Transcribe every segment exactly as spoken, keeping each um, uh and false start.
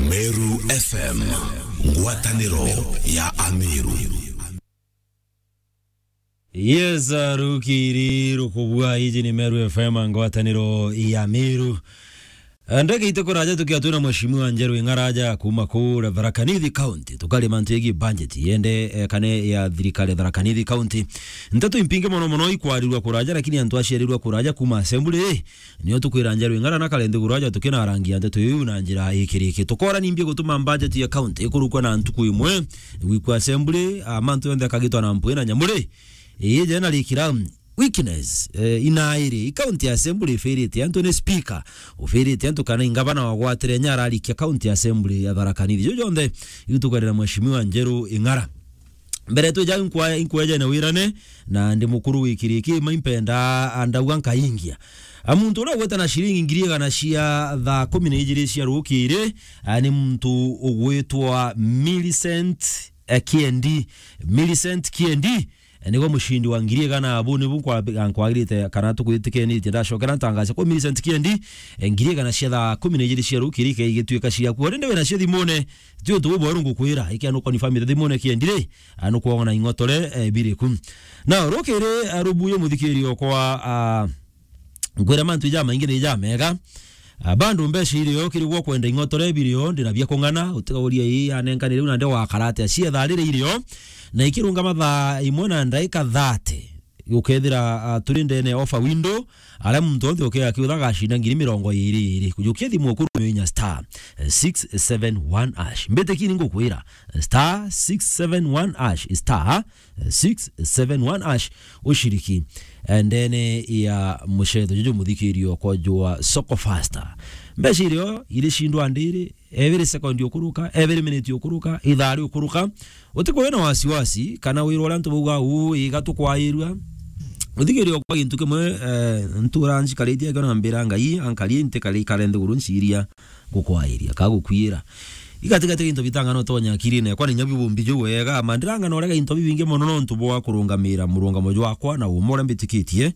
Meru F M, ngwataniro ya Ameru. Yes, uh, rukiri rukubua, iji ni Meru F M, ngwataniro ya Meru. Ndagita kuraja tukia twina Mheshimiwa Njeru Ing'araja kuma kura Tharaka Nithi County. Tukari mantu yegi budget yende, eh, kane ya thirikari Tharaka Nithi County. Nteto impingi mono mono ikwarirwa kuraja, lakini antu aciarirwa kuraja kuma assembly, eh, nio tukwira Njeru Ing'ara na kare nthiguru aja tukinarangia nteto iu na njira ikiriki. Tukora nimbi gutuma budget ya county ikurukwa na ntuku imwe, gwikwa assembly, a, mantu yonthe akagitwa na mpwi na nyamuri. Ii jena rikira weakness, eh, inairi, i county assembly ifirite antu ni speaker, ufirite antu kana ingavana wagwatire nya ararikia county assembly ya Tharaka Nithi. Ju jonthe iu tukarira Mheshimiwa Njeru Ing'ara. Mbere twija inkwa-, inkweja na wirane, na ndi mukuru wi kiriki, ma impenda andauga nkaingia. A, muntu uria ugweta na ciringi ngiri igana cia thaa kumi na ijiri cia rukiri, a, ni muntu ugwitwa Millicent, eh, Kiendi. Millicent Kiendi, eh, nigo mucindi wa ngiri igana. Abu nibu nkwa-, nkwagirite kana tukwitikianite ndacokera ntangace kwa Millicent Kiendi, eh, ngiri igana cia thaa kumi na ijiri cia rukiri ke igituika ciaku. Uri ndi wina cio thimune, ti untu bubweru ngukwira, ikia nukonfirmite thimune Kiendi ri, a, nukwona ing'otore, eh, biriku. Na rukiri, a, rubuyo muthikiri okwa, a, nkwira mantu jamaingi ni jamega. A, bado mbeca irio kiri gwa kwenda ing'otore birio, ndina bia kung'ana, utikauria ii anenkanire u na nde wakarate acietha riri irio, na ikirunga mathaa imwe na ndaika thirty. Ukethira, a, turi ndene ya offer window, aria muntu onthe ukia akiutha agacinda ngiri mirongo iri iri. Kujukia thimu ukuru inya star six seven one hash. Mbitiki ni ngukwira, star six seven one hash, star six seven one hash, ushiriki, eh, ndene ya mucetho juju muthikirio kwa jua Soko Faster. Mbeca irio iri cindwa ndiri, every second ukuruka, every minute ukuruka, ithaa riukuruka. Utikwona wasiwasi, kana wirwa uria antu bauga, "Uu, iga tukwairua." Uthikirio kwa gintu kimwe, eh, ntura nchikaritie akio na mbira Ngai, ankari ntikari kare nthiguru nciria gukwairia, ka gukwira. Igatigati gintu bitang'ana utonya akirine, kwani nyabi bumbi ju wega, ma ndirang'ana urega into bibingi mono nontu bwa kurungamira murungamo jwakwa na umwe uria mbitikitie.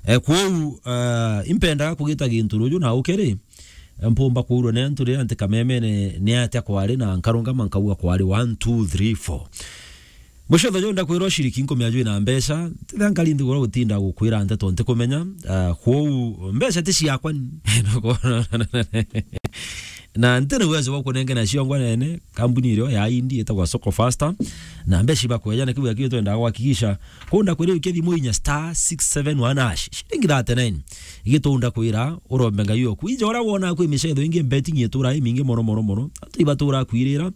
Eh, kwou, eh, impendaga kugita gintu ruju na ukeri, mpumba kuurwa ni antu riria nti kamemene ni atia kwari, na nkarungama nkauga kwari one, two, three, four. Mucetho juu ndakwira ushiriki nkumia jwina mbeca, tithia nkari nthiguru gutinda gukwira nteto ntikumenya, ah, kwou mbeca ti ciakwa ni. Na ntina uwezo bwa kunenge na ciongwa nene, kambuni irio ya Indi itagwa Soko Faster, na mbeca ibakweja na kiu akio twendaga gwakikisha. Kunda kwira ukie thimu inya star six seven one hash, shilingi thirty-nine. Igitunda kwira urombe Ngai oku. Ija uria wona kwi micetho ingi, betting itura imingi mono, mono, mono. Antu ibatura kwirira.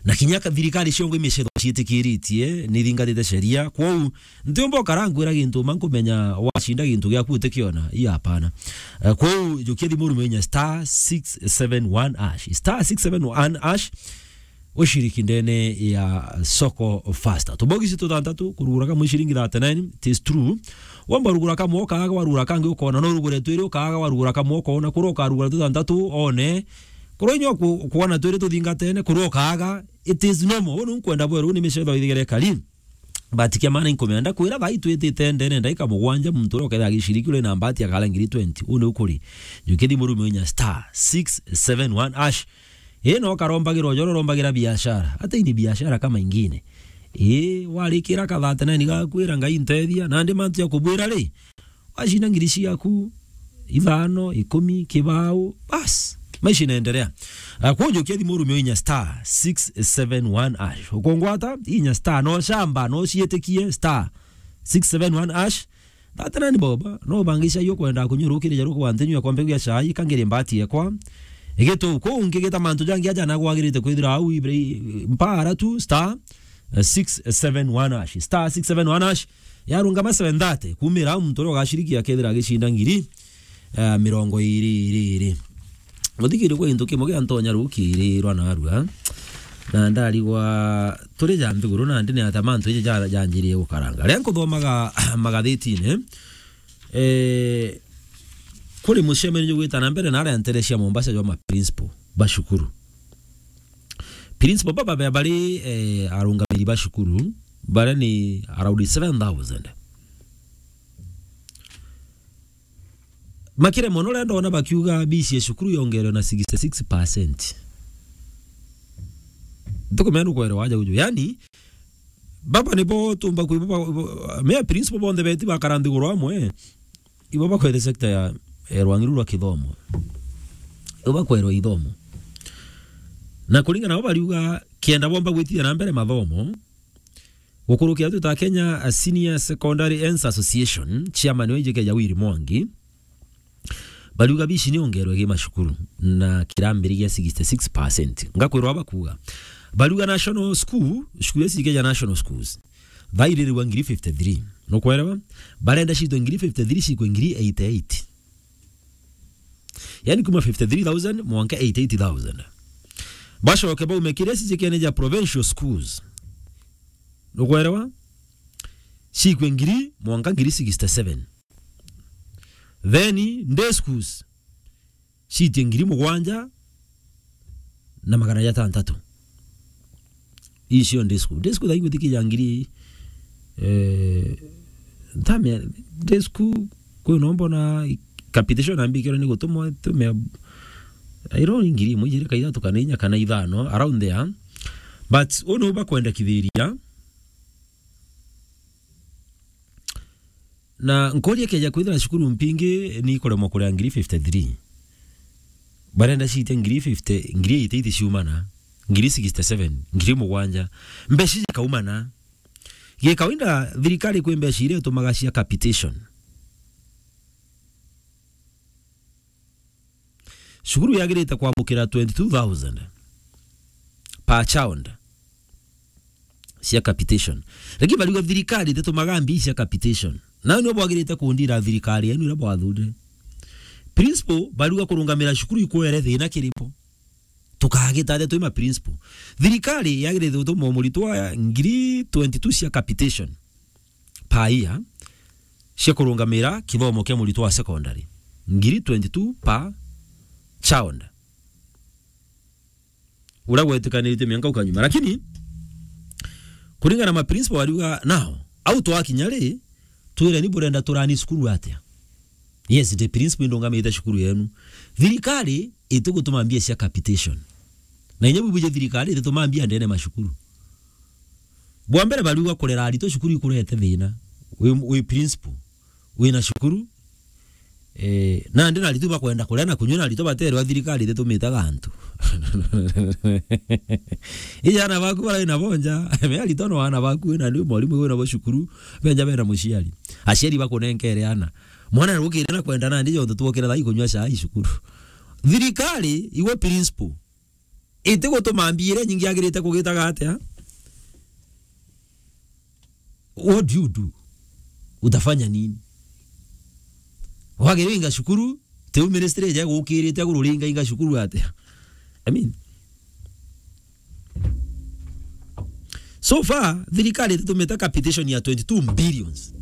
Na kinya ka thirikari ciongo imicetho ciitikiritie, ni thingatite sheria. Kwou, ntiumba ukara nkwira gintu, ma nkumenya wacinda gintu giaku utikiona. Ii, hapana. Eh, kwou, jukia thimu rume inya star six seven one hash. Star six seven one hash. Ushiriki ndene ya Soko Faster. Tubogisi tuthantatu, kurugura kamwe ciringi thirty-nine, it is true. Wamba rugura kamwe ukaaga, warugura kangi ukona, no urugure twiri ukaaga, warugura kamwe ukona, kura ukarugura tuthantatu, one. Kura inya ku-, kuona twiri tuthingatene, kura ukaaga, it is normal. Uu ni nkwenda bweru, ni micetho ithigere kari. But kia maana inkumenda kwira, thaa ii twitite ndene ndaika mugwanja, muntu uria ukethira agiciriki uri na mbati akara ngiri twenty. Uu ni ukuri. Jukia thimu rume inya star six seven one hash. Ii, no karombagirwa joro rombagira biashara. Hata hii ni biashara kama ingine. Ii, warikira ka thirty-nine gakwira, "Ngai ntethia," nandi mantu ya kubwira ri, wacinda ngiri ciaku, ithano, ikumi, kibao, bas, maisha inaendelea. Ah, kwojo kia thimu rumio inya star six seven one hash. Ukongwata, inya star, no shamba, no cietikie, star six seven one hash. Thirty-nine bob, no bangisha yo kwenda kunyurukiria jaru kwa ntenyu ya kombe ya chai, kangire mbati yekwa. Igeto, ko ungi geta mantu jangi aja na gwagirite kwithira au ibri mpara tu, star six seven one hash. Star six seven one hash. Yarungama seven thirty, kumira au muntu uria ugaciriki akethira agicinda ngiri, eh, mirongo iri, iri, iri. Muthikiri, kwi gintu kimwe giantonya rukirirwa narua, na ndarigwa turi ja nthiguru, na ndine ata mantu iji ja-, janjirie gukaranga. Riria nkuthomaga magathitine, eh, kuri mucemanio jugwita na mbere na aria ntere cia Mombasa jwa ma principal ba cukuru. Principal baba be bari, eh, arungamiri ba cukuru, baria ni around seven thousand. Makire mono riria ndona bakiuga fees ya cukuru yongerwe na sixty-six percent. Ntukumea nukwerewa aja uju. Yani, baba nibo tumba kwi baba, mea principal bonthe beti bakara nthiguru amwe. Ibo bakwete sector ya, ya rwangi ruru rwa kithomo. Ibo bakwerwa ithomo. Na kuringana nabo bariuga, kenda bomba gwitithia na mbere mathomo, gukurukia twita Kenya, a Senior Secondary Ends Association, chairman wa ijike ja Willy Mwangi, bariuga bici ni ongerwe gi macukuru na kirambiriria sixty-six percent. Ngakwirwa bakuga. Bariuga national school, cukuru ici ikeja national schools, thaiririwa ngiri fifty-three. Nukwerewa? Barenda citwe ngiri fifty-three cikwe ngiri eighty-eight. Yani kuma fifty-three thousand mwanka eighty-eight thousand. Bacoke baume kiria cicikene ja provincial schools. Nukwerewa? Cikwe ngiri mwanka ngiri sixty-seven. Then day schools citie ngiri mugwanja na magana jatantatu. Icio day school. Day school thaigwitikia ngiri, eh, ntamea, day school, kwi no mbona capitation ambikirwe ni gutumwa, tumea, I don't know, ngiri imwe, ijiri, ka ithatu, kana inya, kana ithano, around there. But unu bakwendekithiria. Na nkoria keja kwithira cukuru mpingi ni ikuremwa kuria ngiri fifty-three. Barenda ciite ngiri fifty, ngiri eighty-eight ciumana, ngiri sixty-seven, ngiri mugwanja. Mbeca ikaumana. Gikawaida thirikari kwi mbeca iria itumaga cia capitation. Cukuru yagirite kwamukira twenty-two thousand per child cia capitation. Lakini bariuga thirikari ititumaga mbi cia capitation. Nau nio bwagirite kundira thirikari yenu iria bwathurire. Principal bariuga kurungamira cukuru ikwere thina kiripo. Tukagita atia twi ma principal? Thirikari yagirite gutuma muritwa ngiri twenty-two cia capitation per year cia kurungamira kithomo kia muritwa wa secondary. Ngiri twenty-two per child. Uria gwetikaniritue mianka ukanyuma. Lakini, kuringana na ma principal bariuga, nao, au twakinya ri, twireni burenda turani cukuru atia? Yes, the principal indungamite cukuru yenu. Thirikari itigutuma mbia cia capitation. Na inya bubuje thirikari itituma mbia ndene macukuru. Bwa mbere bariuga kurera aritwa cukuru ikurete thina. Wi, wi principal, wina cukuru, eh, nandi na aritwa bakwenda kuria na kunyua na aritwa baterwa thirikari ititumite gantu. Ija ana baku bara ina bonja, me aritwa no ana baku wina ni mwarimu wina bo cukuru, benja bena muciari. Aciari bakunenkere ana. Mwana rukire na kwenda nandi jonthe twokire thai kunyua cai cukuru. Thirikari, iwe principal, itigutuma mbia iria nyingi agirite kugitaga atia? What do you do? Utafanya nini? Wagire inga cukuru, tiu ministry ija gukirite aguru ringa inga cukuru atia? I mean, so far, thirikari ititumite capitation ya twenty-two billions.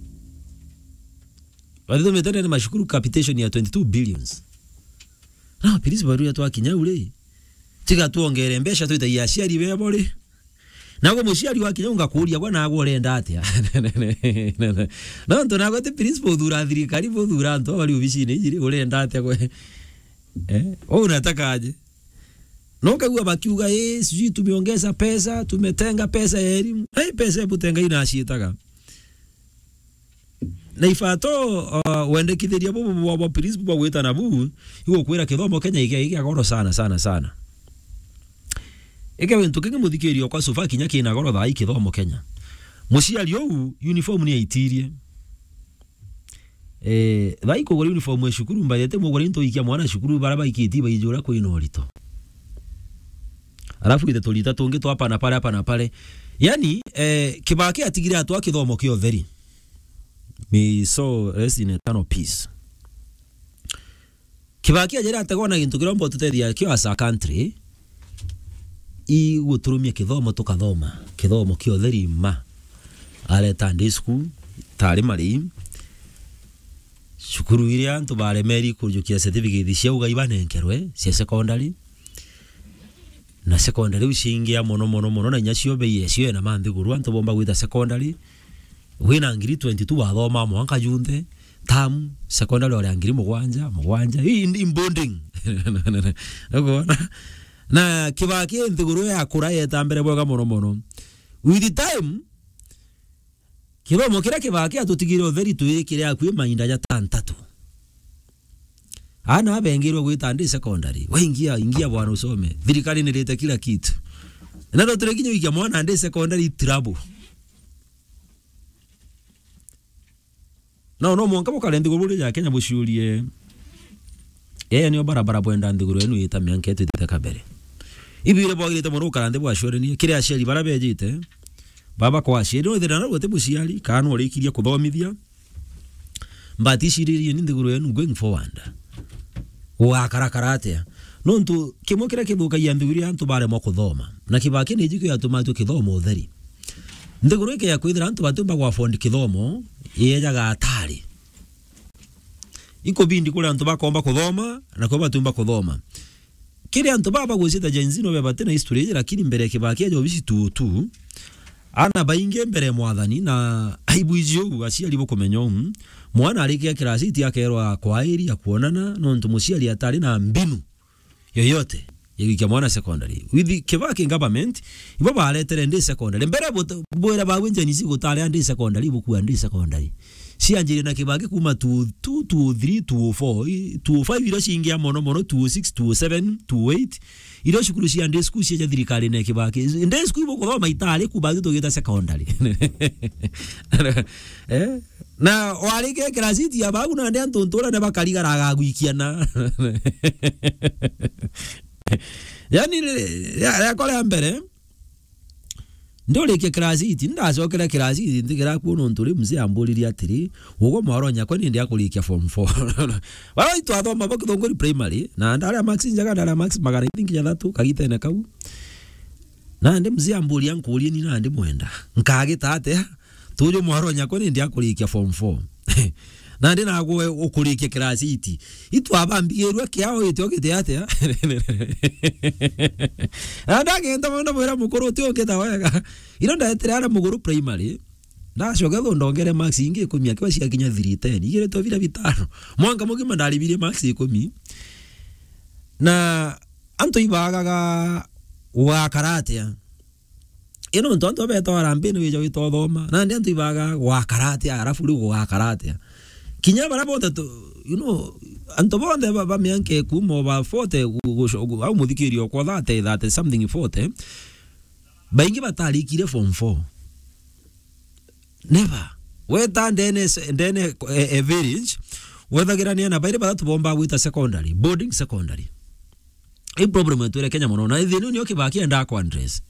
Bathitumite ndene macukuru capitation ya twenty-two billions. Na principal bariuga twakinya u ri, tiga twongere mbeca twitagia aciari bebo ri. Nago muciari wakinya ungakuria gwa nago urenda atia? Nontu nago ti principal uthura thirikari, buthura antu bari obicine iji ri, urenda atia gwe? Eh? Wewe unataka aje? Na ukaigua bakiuga, "Eh, sijui tumeongeza pesa, tumetenga pesa ya elimu." Hey, pesa ebu tenga inaciitaga. Na ibato, uh, wendekithiria bubu bwa, bwa principal bwa gwitana bu, igukwira kithomo Kenya igia, igia goro sana, sana, sana. Ike gintu kingi muthikirio kwa sofa kinya kina goro thaa ii kithomo Kenya. Muciari uu uniform ni aitirie. Eh, thaa ii kugura uniform ya cukuru, mbathete mugure into ikia mwana cukuru, bara baikiti baijura kwina urito. Alafu ithe turita tungi twa hapa na pale, hapa na pale. Yani, eh, Kibaki atigire atwa kithomo kia utheri. May his soul rest in eternal peace. Kibaki ajira ategwa na gintu kiria umba tutethia kio as a country, iguturumia kithomo tukathoma, kithomo kia utheri ma. Areta day school, tari mari, cukuru iria antu baremeri kujukia certificate cia ugai banenkerwe, cia secondary. Na secondary iu ciingia mono, mono, mono, na inya cio bei yacio ena manthiguru, antu bomba gwita secondary. Wina ngiri twenty-two wathoma mwanka junthe, term, secondary oria ngiri mugwanja, mugwanja. Hii in, in boarding. Ukwona? Na Kibaki nthiguru yakura yeta mbere bwega mono mono. With time, kithomo kiria Kibaki atutigire utheri twikire akui mainda jatantatu. Ana abengirwe gwita ndi secondary. We ingia, ingia bwana usome. Thirikari nirite kila kitu. Na ndo turi kinya wikia mwana ndi secondary trouble. No, no mwanka bukare nthiguru buri ja Kenya buciurie. Yeye nio barabara bwenda nthiguru yenu yita mianka itwitite kabere. Ibire bwagirite mono gukara nthi bwacurenie. Kiri aciari bara bejite. Baba kwa aciari, no ithira na gute muciari, kana no urikirie kuthomithia. But iciririe ni nthiguru yenu going forward. Gugakarakara atia? Nontu kimwe kiria kithukagia nthiguru ya antu baremwa kuthoma. Na Kibaki ni jikio yatumatue kithomo utheri. Nthiguru ikeya kwithira antu batiumba gwa afford kithomo, yejaga atari. Ikubindi kuri antu bakomba kuthoma, na kwi batiumba kuthoma. Kiri antu baba bagwicita Gen Z no bebati na history iji, lakini mbere ya Kibaki aja obisi tu tu, ana baingi mbere ya mwathani na aibu iji uu, aciari bukumenya uu, mwana arikia class eight akerwa kwairi ya kuonana, nontu muciari atari na mbinu yoyote ya gwikia mwana secondary. With Kibaki government, ibo baretere ndi secondary. Mbere but-, bwira bawe Gen Z gutari ndi secondary, bukua ndi secondary. Cianjirie na Kibaki kuma two, two, two oh three, two oh four, i, two oh five iria ciingia mono mono, two oh six, two oh seven, two oh eight. Iria cukuru cia day school cia thirikari na Kibaki. Day school ibukuthoma itari ku, batu tugita secondary. Eh? Na warikia class eight ya bagu na ndi antu ntura na bakarigara agagwikiana. Yani, ya, ya kore mbere, ndurikia class eight, ndacokera class eight, nthikira kuo nontu ri mzee amburirie atiri, "Ugo mwaro nyakwa ni ndi akurikia form four." Bara itwathoma bo Kithunguri primary, na ndari a marks njaga, ndari a marks magana, I think, jathatu, kagitene kau. Nandi mzee amburia nkurie ni nandi mwenda. Nkagita atia? Tuju mwaro nyakwa ni ndi akurikia form four. Nandi nagwe ukurikia class eight. Itwabambigirwe kiao itio giti atia? Na ndagenda mwenda mwira mukuru uti ungita wega. Ino ndaetire ara muguru primary. Ndacoka thu ndongere marks ingi ikumi akiwa ciakinya three ten. Igire to bira bitano. Mwanka mugima ndaribirie marks ikumi. Na antu ibagaga gwakara atia? Ino ntu antu abeta warambini wija wita uthoma. Nandi antu ibaga gwakara atia, arafu riu gugakara atia? Kinya bara bonthe tu, you know, antu bonthe ba, ba mianka ikuma ba forty gu-, guco-, gu-, au muthikirio kwa thirty, thirty something, forty, baingi batarikire form four. Never. Weta ndene se-, ndene, e, e village, wethagira ni ana bairi bathatu bomba gwita secondary, boarding secondary. I problem yetu ire Kenya mono, na thina nio Kibaki enda ku address.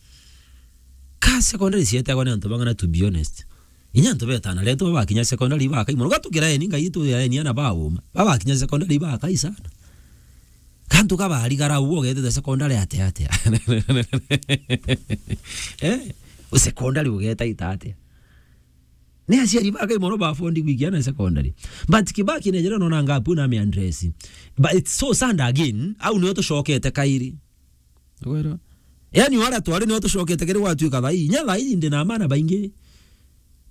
Ka secondary cietagwa ni antu bang'ana, to be honest. Inya antu betana, retu bakinya secondary bakai mono. Gatukira eni, Ngai tu ya eni ana bauma. Babakinya secondary bakai sana. Kantu kabarigara uo getete secondary ate ate. Eh? U secondary ugeta ita ate? Ni aciari bakai mono ba afford gwikia ana secondary. But Kibaki nejera nona ngapu na mi address. But it's so sad again, au nio tucokete kairi. Wera. Yani wala twari nio tucokete kiri gwatuika thai. Nya thai ndi na mana baingi.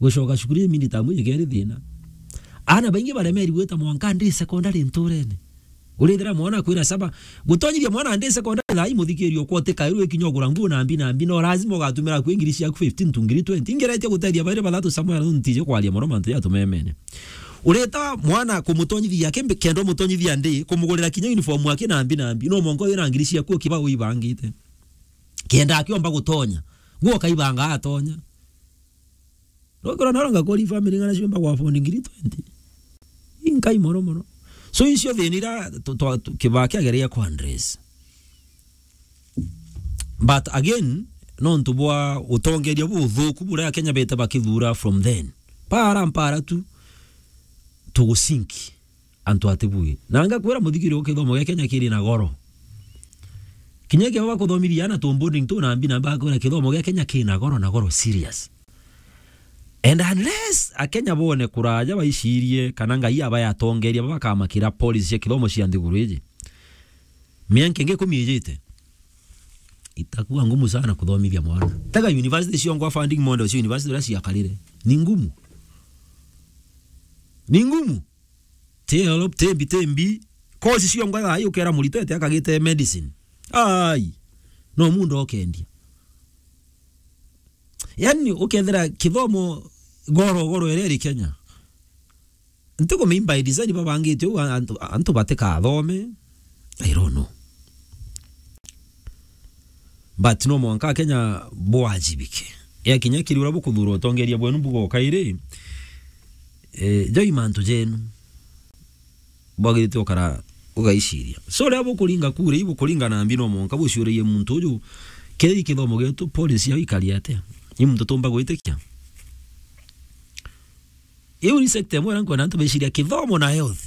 Gucoka cukuru imindi tamu igeri thina. Ana baingi baremeri gwita mwanka ndi secondary nturene. Urithira mwana akwira saba, gutonyithia mwana ndi secondary thai muthikirio kwa utikairwe ikinya ugura nguo na mbi na mbi, no lazima ugatumira kwi ngiri ciaku fifteen to ngiri twenty. Ingeretie gutethia bairi bathatu Samuel, ntije kwaria mono mantu ya tumemene. Ureta mwana kumutonyithia kimbi kenda umutonyithia ndi, kumugurira kinya uniform aki na mbi na mbi, no mwanka wina ngiri ciaku ukiba uibangite. Kenda akiomba gutonya, guo kaibanga atonya. Rokora naro ngakori family ng'ana ciomba gwa afford ngiri twenty. Inkai mono mono. So icio thina ira tu-, twa-, tu-, Kibaki ageria ku address. But again, nontu bwa utongeria buthuku buria Akenya bete bakithura from then. Para mpara tu, tugusinki. Antu atibui. Na ngakwira muthikirio kithomo gia Kenya kiri na goro. Kinya kia bakuthomithia ana tu boarding tu na mbi na mbi, ngakwira kithomo gia Kenya kiri na goro na goro serious. And unless Akenya bone kuraja baicirie kana Ngai aba yatongeria baba bakamakira policy cia kithomo cia nthiguru iji, mianka ingi ikumi ijite, itakua ngumu sana kuthomithia mwana. Tega university ciongwa funding model cia university uria ciakarire. Ni ngumu. Ni ngumu. Ti help, ti mbi, ti mbi. Course ciongwa thaa hii ukera murito ete akagite medicine. Ai. No muunda ukendia. Yani, ukethira kithomo goro, goro iria iri Kenya. Ntikumenya by design babangite uu antu, antu batikathome. I don't know. But no mwanka Kenya bwajibike. Ya kinya kiri uria bukuthura utongeria bwenu bugoka iri, eh, joi mantu jenu. Bwagirite ukara ugaiciria. So, riria bukuringa kura, ibukuringa na mbi no mwanka buciuririe muntu uju, kethira i kithomo gietu, policy yao ikari atia? I muntu tumba gwitikia? Iu ni sector imwe iria nkwenda antu beciria, kithomo na health.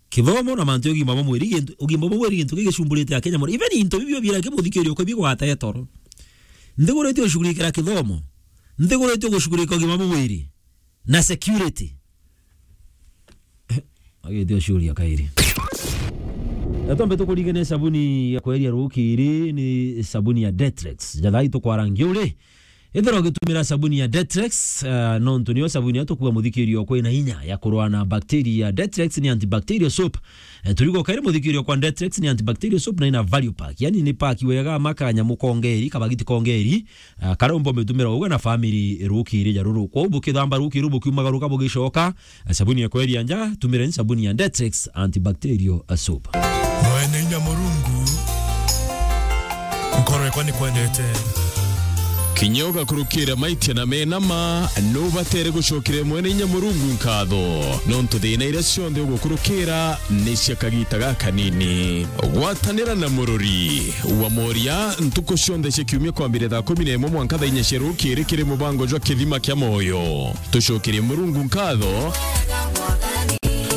Kithomo na mantu ya ugima bwa mwiri, gintu, ugima bwa mwiri gintu gigicumburite Akenya mono. Even into bibio bira kibuthikirio kwa bigwata etoro. Nthiguritio gushughulikira kithomo. Nthiguritio gushughulikira ugima bwa mwiri. Na security. Agitio ciuria kairi. Atombe tukuringe ni sabuni ya kweria rukiri, ni sabuni ya Detrex. Jathai tukwarangia uri. Ethira ugitumira sabuni ya Detrex, eh, nontu niyo sabuni ya tukua muthikirio kwina inya ya kurwa na bacteria. Detrex ni antibacterial soap. Eh, turigo kairi muthikirio kwa Detrex ni antibacterial soap na ina value pack. Yani ni pack wega ma kanyamu kongeri, kabagiti kongeri, eh, karia umba umitumira uga na family rukiri ja ruru. Kwou bukithamba rukiri bukiumagaruka bugicoka, eh, sabuni ya kweria nja, tumireni sabuni ya Detrex antibacterial, eh, soap. Mwene inya Murungu, nkorwe kwa ni kwendete. Kinya ugakurukira maitia na mena ma, nubatere gucokeria Mwene inya Murungu nkatho, nontu thina iria cionthe ugukurukira ni cia kagita gakanini. Gwatanira na Murori wa Moria ntuku cionthe cia kiumia kwambire thaa kumi na imwe mwanka thaa inya cia rukiri kiri mubango jwa Kithima kia Moyo. Tucokerie Murungu nkatho,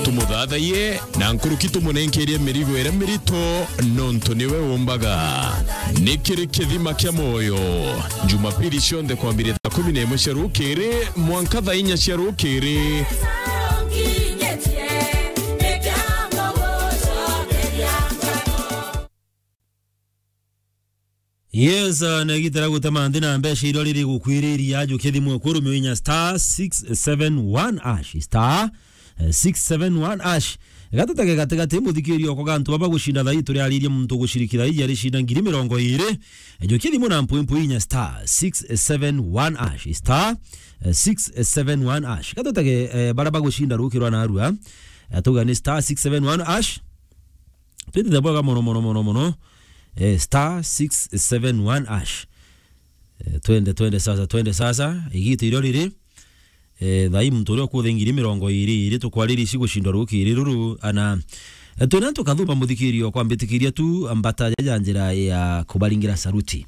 tumuthathaiye, na nkuruki tumunenkerie mirigo iria mirito, nontu niwe umbaga. Ni kiri Kithima kia Moyo, Jumapili cionthe kwambire thaa kumi na imwe cia rukiri mwanka thaa inya cia rukiri. Yes, uh, na igita ria gutema nthi na mbeca iria riri gukwiriria, jukia thimu eku rumio inya star six seven one hash, star, eh, six seven one hash. Gatutege gatigati muthikirio kwa gantu baba gucinda thaa ii turiaririe muntu guciriki thaa ii aricinda ngiri mirongo iri. Eh, jukia thimu na mpwi mpwi inya star six seven one hash, star, eh, six seven one hash. Gatutege, eh, bara bagucinda rukirwa na arua. Eh, tuga ni star six seven one hash. Twitite bwega mono, mono, mono, mono. Eh, star six seven one hash. Eh, twende, twende sasa, twende sasa. Igita irio riri. Eh, thaa ii muntu uria ukuthe ngiri mirongo iri, iri tukwariria ici gucindwa rukiri ruru, ana, eh, twina tukathuma muthikirio kwa mbitikiria tu mbata ja, ja njira ya kubaringira saruti.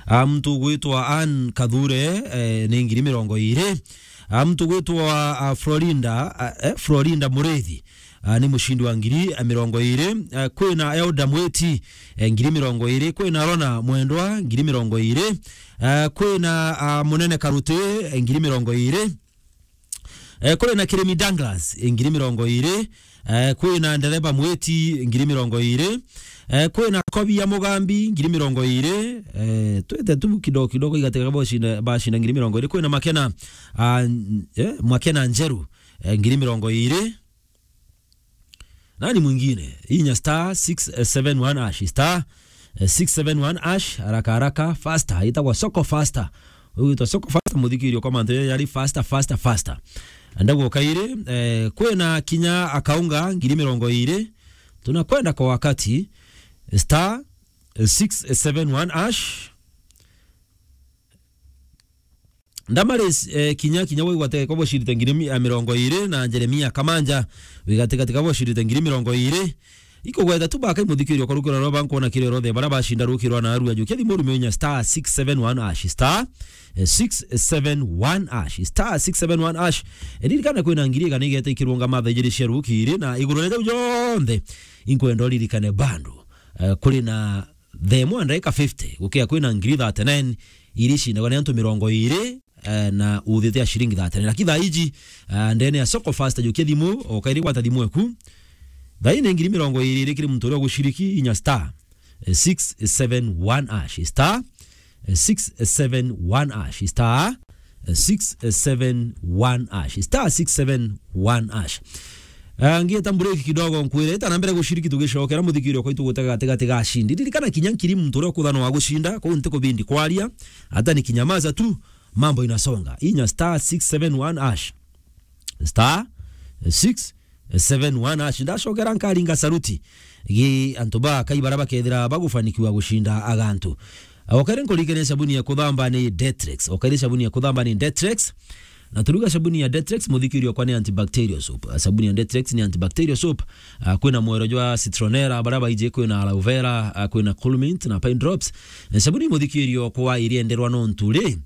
Ah, muntu ugwitwa Ann Kathure, eh, ni ngiri mirongo iri. Ah, muntu ugwitwa, ah, Florinda, ah, eh, Florinda Murithi. Ah, ni mucindi wa ngiri mirongo iri. Ah, kwina Elda Mweti, eh, ngiri mirongo iri. Kwina Rona Mwendwa, ngiri mirongo iri. Ah, kwina, ah, Munene Karuti, eh, ngiri mirongo iri. Eh, kwina Kirimi Douglas, eh, ngiri mirongo iri. Eh, kwina Ndereba Mweti, ngiri mirongo iri. Eh, kwina Kobia Mugambi, ngiri mirongo iri. Eh, twete tu kidogo kidogo igatika bacinda, bacinda ngiri mirongo iri. Kwina Makena, ah, n-, eh, Makena Njeru, eh, ngiri mirongo iri. Nani mwingine? Inya star six seven one hash, star, eh, six seven one hash, haraka haraka, faster, itagwa Soko Faster. Ugitwa Soko Faster, muthikirio kwa mantu yari faster, faster, faster. Ndaguo kairi, eh, kwina kinya akaunga ngiri mirongo iri. Tunakwenda kwa wakati, star, eh, six seven one hash. Ndamaris, eh, kinya, kinya wigwate kwa bocirite ngiri mi-, eh, mirongo iri na Jeremia Kamanja, wigatigatika bocirite ngiri mirongo iri. Ikugweta tu baka imuthikirio kwa rukiro rwa bankwona kiri rothe bara bacinda rukirwa na arua jukia thimu rume inya star six seven one hash, star, eh, six seven one hash, star six seven one hash. Eh, ririkana kwina ngiri igana igeta ikirunga matha ijiri cia rukiri na iguru ria jau jonthe inkwenda uririkane bando. Eh, kuri na thaa imwe na ndagika fifty, gukia kwina ngiri thirty-nine iri cindagwa ni antu mirongo iri, eh, na uthite ya ciringi thirty-nine. Lakini thaa iji, eh, ndene ya Soko Faster, jukia thimu, ukairi gwata thimu eku. Thaa ii ni ngiri mirongo iri iri kiri muntu uria uguciriki inya star, eh, six seven one hash, star, eh, six seven one hash, star, eh, six seven one hash, star six seven one hash. Ah, ngieta break kidogo nkwire, ita na mbere gushiriki tugicokera muthikiri okwa itugutega gatigati ga ashindi. Ririkana kinya nkiri muntu uria ukuthanwa wa gucinda, kuu nti kubindi kwaria, hata nikinyamaza tu, mambo inasonga. Inya star six seven one hash. Star six seven one hash. Ndacokera nkaringa saruti. Gi antu ba Kai bara bakethira bagufanikiwa gucinda agantu. Okaire nkuririkania sabuni ya kuthamba ni Detrex. Okaire sabuni ya kuthamba ni Detrex. Na turuga sabuni ya Detrex, muthikiri okwa ni antibacterial soap. Sabuni ya Detrex ni antibacterial soap. Ah, kwina mwero jwa citronella, bara baiji kwina aloe vera, ah, kwina cool mint na pine drops. Eh, sabuni muthikiri okwa irienderwa nontu ri,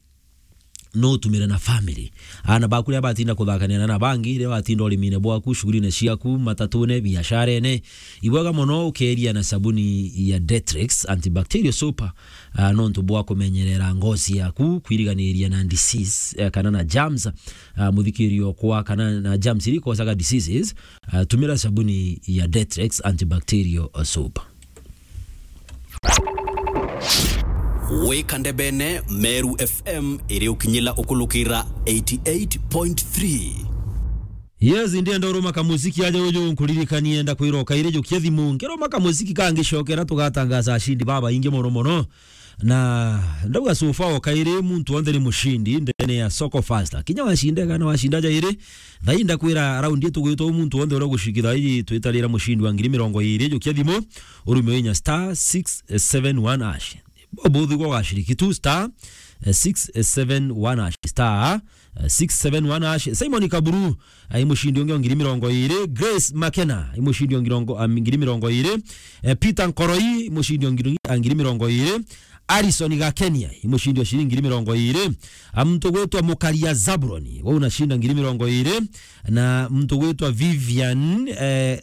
no utumire na family. Ana baku riria batinda kuthakania na bangi, riria watinda urimine bwaku, shughulini ciaku, matatune, biasharene, ibwega mono ukeria na sabuni ya Detrex antibacterial soap, ah, nontu bwa kumenyerera ngozi yaku, kwiriganiria na disease, eh, kana na germs, ah, muthikiri okwa, kana na germs iria ikosaga diseases, ah, tumira sabuni ya Detrex antibacterial soap. Wika ndebene, Meru F M iri ukinyila ukulukira eighty eight point three. Yes, ndienda uruma kamuziki aja uju nkuririkanie, ndakwira ukaire jukia thimu, ngiruma kamuziki kangi cokera tugatangaza ashindi babaingi mono mono. Na ndauga so far ukaire muntu onthe ni mushindi ndene ya Soko Fasta. Kinya washinda kana washinda jairi, thaai ndakwira raundi itugwitwa muntu onthe uria ugucikitha iji twitarira mushindi wa ngiri mirongo iri, jukia thimu, urume inya star six seven one hash. Bobo thigwa ugaciriki tu star six seven one hash, star six seven one hash. Simon Kaburu, ai mushindi ungi wa ngiri mirongo iri. Grace Makena, ai mushindi wa ngirongo-, ah, ngiri mirongo iri. Eh, Peter Nkoroi, mushindi wa ngiri, ah, ngiri mirongo iri. Alison Gakenia, ai mushindi wa shilingi ngiri mirongo iri. Ah, muntu gwitwa Mukaria Zabroni, we unashinda ngiri mirongo iri. Na muntu gwitwa Vivian, eh,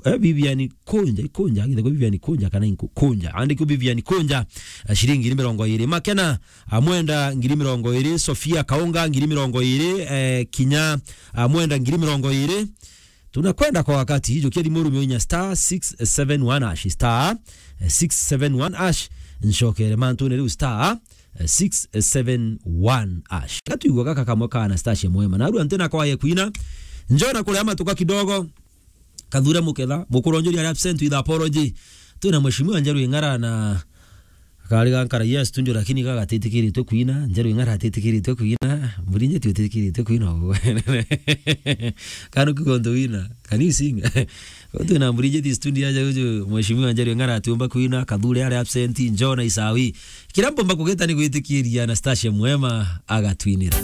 eh, Vivian Kunja, Kunja, agithagwo Vivian Kunja kana Inku-, Kunja. Andikwo Vivian Kunja, eh, shilingi ngiri mirongo iri. Makena, Amwenda ngiri mirongo iri, Sofia Kaunga ngiri mirongo iri, eh, kinya Amwenda ngiri mirongo iri. Tunakwenda kwa wakati, jukia thimu urume inya star six seven one hash, star six seven one hash, ncokere mantune riu star six seven one hash. Gatuigua gaka kamwe ka Anastasia Mwema. Narua ntina kwaye kwina, njona kuria matuka kidogo. Kathure Muketha, mukuru njuri ari absent with apology. Twina mheshimiwa Njeru Ing'ara na kari gankara yes studio, lakini gaga atitikiritwe kwina, Njeru Ing'ara atitikiritwe kwina, Mburinjeti utitikiritwe kwina. Kanu kigonto wina, can you sing? Twina Mburinjeti studio aja uju, mheshimiwa Njeru Ing'ara atiumba kwina, Kathure ari absent, Njona Isawi. Kira mpomba kugeta ni gwitikiria Anastasia Mwema agatwinira.